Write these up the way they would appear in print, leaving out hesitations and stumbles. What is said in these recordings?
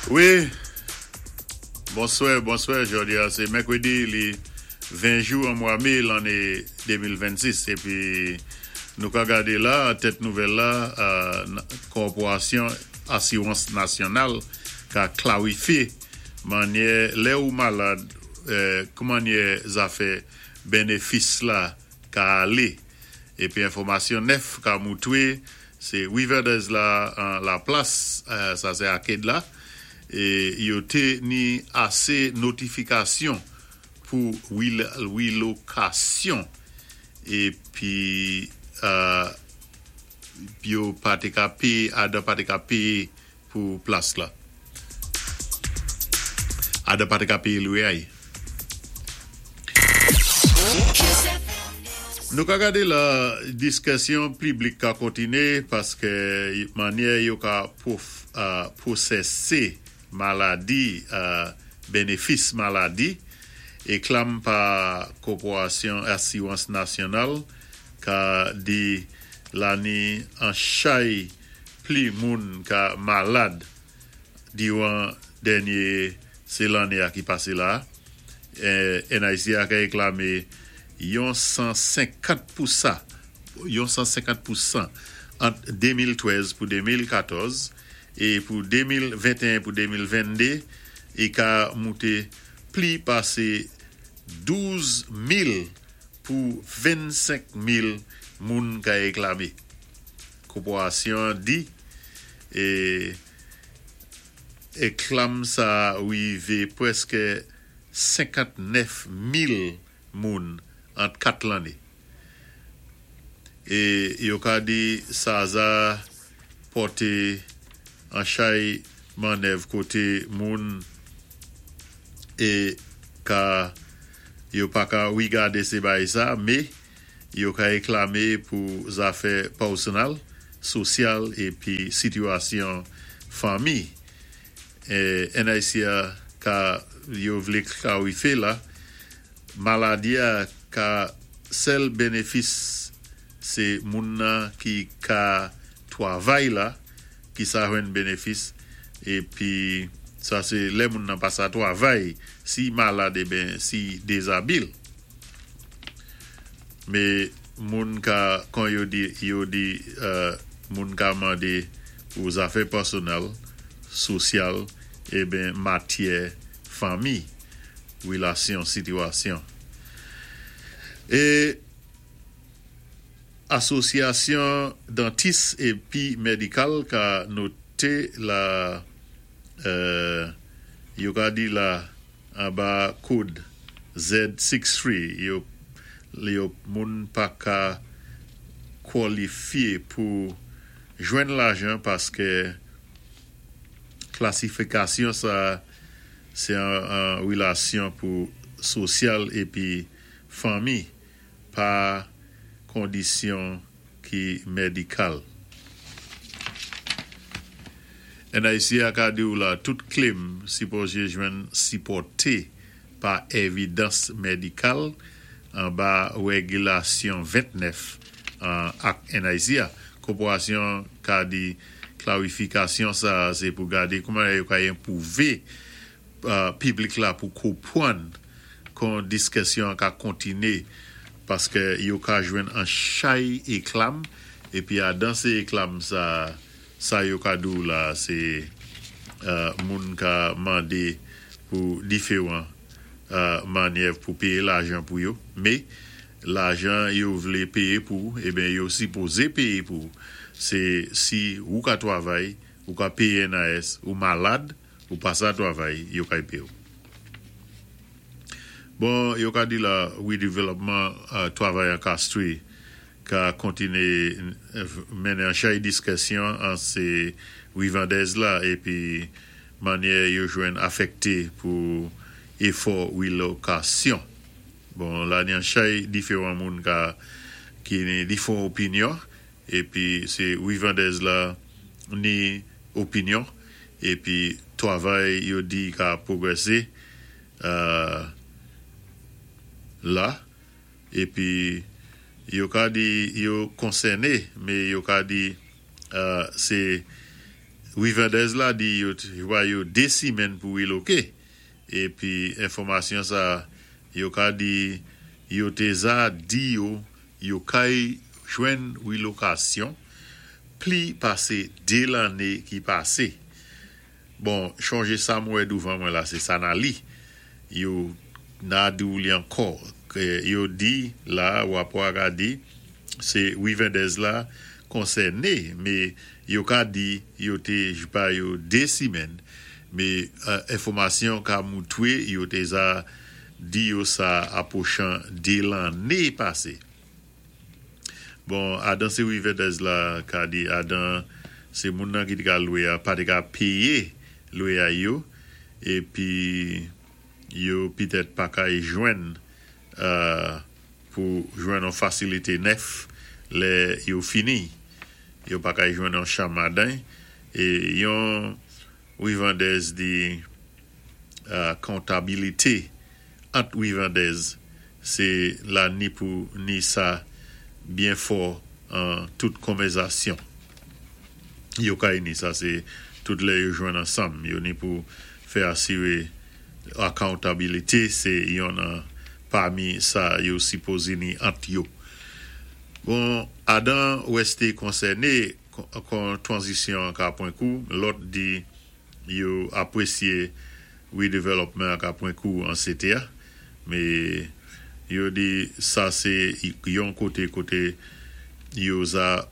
Wi, bonswè, bonswè, jòdi a sé mèkwédi li 20 jou an mwa mé lanné 2026 épi nou ka gadé la tèt nouvèl la Kòpowasyon Asiwans Nasyonal ka klawifyé mannyè lè ou malad kmannyè zafè bennefis la ka alé épi enfòmasyon nèf ka moutwé sé Riverdez la an laplas sa sé Arcade la yo té ni asé notifikasyon pou rilokasyon épi yo pa té ka péyé adan pa té ka péyé pou plas la. Adan pa té ka péyé lwiyay. Nou ka gadé la diskisyon piblik ka kontiné paské mannyè yo ka pwosésé maladi benefis maladi éklam pa Kòpowasyon Asiwans Nasyonal ka di la ni an chay pli moun ka malad diwan dènyé sé lanné a ki pasé la NIC a ka éklamé yon 150 pousa yon 150 pousan ant 2013 pou 2014 é pou 2021 pou 2022 i ka mouté pli pasé 12 mil pou 25 mil moun ka éklamé. Kòpowasyon an di é éklam sa wivé pwèskè 59 mil moun ant 4 lanné. É yo ka di sa za pòté an chay mannèv koté moun é ka yo pa ka wigadé sé bay sa mé yo ka éklamé pou zafè pèsonal, sosyal épi sitiyasyon fanmi. NIC a ka yo vlé klawifyé la maladi a ka sèl benefis sé moun nan ki ka twavay la ki sa jwenn benefis épi sa sé lè moun nan pa sa twavay si malad eben si dézabil. Mé moun ka kon yo di yo di moun ka mandé pou zafè pèsonèl, sosyal eben matyè fanmi, wilasyon, sitiyasyon. É Asosyasyon dantis épi medikal ka noté la yo ka di la anba kòd Z63 yo yo moun pa ka kwalifyé pou jwenn lajan paské klasifikasyon sa sé an wilasyon pou sosyal épi fanmi pa kondisyon ki medikal. NIC a ka di ou la tout claim sipozé jwenn sipòté pa évidans medikal anba wégilasyon 29 an ak NIC a. Kòpowasyon ka di klarifikasyon sa sé pou gadé kouman yo ka enpwouvé piblik la pou konpwann kon diskisyon an ka kontiné paské yo ka jwenn an chay éklam épi adan sé éklam sa sa yo ka di ou la sé moun ka mandé pou diféwan mannyè pou péyé lajan pou yo mé lajan yo vlé péyé pou eben yo sipozé péyé pou sé si ou ka twavay ou ka péyé NIS ou malad ou pa sa twavay yo kay péyé ou. Bon yo ka di la redevelopman twavay an Castries ka kontiné mennen an chay diskisyon an sé Rivandez la épi mannyè yo jwenn afèkté pou éfò rilokasyon. Bon la ni an chay diféwan moun ka ki ni difon opinyon épi sé Rivandez la ni opinyon épi twavay yo di ka pwogwèsé la épi yo ka di yo konsèné mé yo ka di sé Rivendez la di yo ba yo 2 simèn pou reloké, épi enfòmasyon sa yo ka di yo té za di yo yo kay jwenn rilokasyon pli pasé 2 lanné ki pasé. Bon, chonjé sa m wè douvan mwen la sé sa na li. Yo na di w li ankò. Yo di la rapò a ka di sé Rivendez la konsèné mé yo ka di yo té ba yo 2 simèn mé enfòmasyon ka moutwé yo té za di yo sa apwochan 2 lanné pasé. Bon, adan sé Rivendez la ka di adan sé moun nan ki té ka lwé a pa té ka péyé lwéyay yo épi yo pitèt pa kay jwenn pou jwenn on fasilité nèf lè yo fini. Yo pa kay jwenn on chanm adan é yon Rivendez di akontabilité ant Rivendez sé la ni pou ni sa byen fò an tout konvèzasyon yo kay ni. Sa sé tout lè yo jwenn ansanm yo ni pou fè asiré accountability sé yonn an pami sa yo sipozé ni ant yo. Bon, adan wèsté konsèné kon tranzisyon an ka pwan kou, lòt di yo apwésyé redevelopment an ka pwan kou an City a, mé yo di sa sé yon koté koté yo za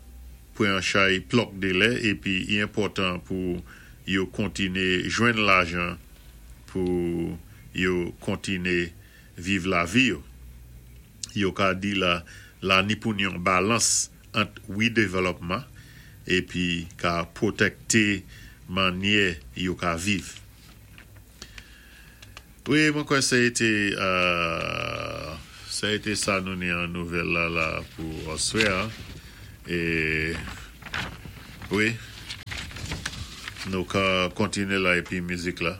pwan chay plòk délè épi i enpòtan pou yo kontiné jwenn lajan pou yo kontiné viv lavi yo. Yo ka di la la ni pou ni yon balans ant redevelopman épi ka pwotèkté mannyè yo ka viv. Wi, mwen kwè sa été sa été sa nou ni an nouvèl la la pou aswè a. É wi, nou ka kontiné la épi mizik la.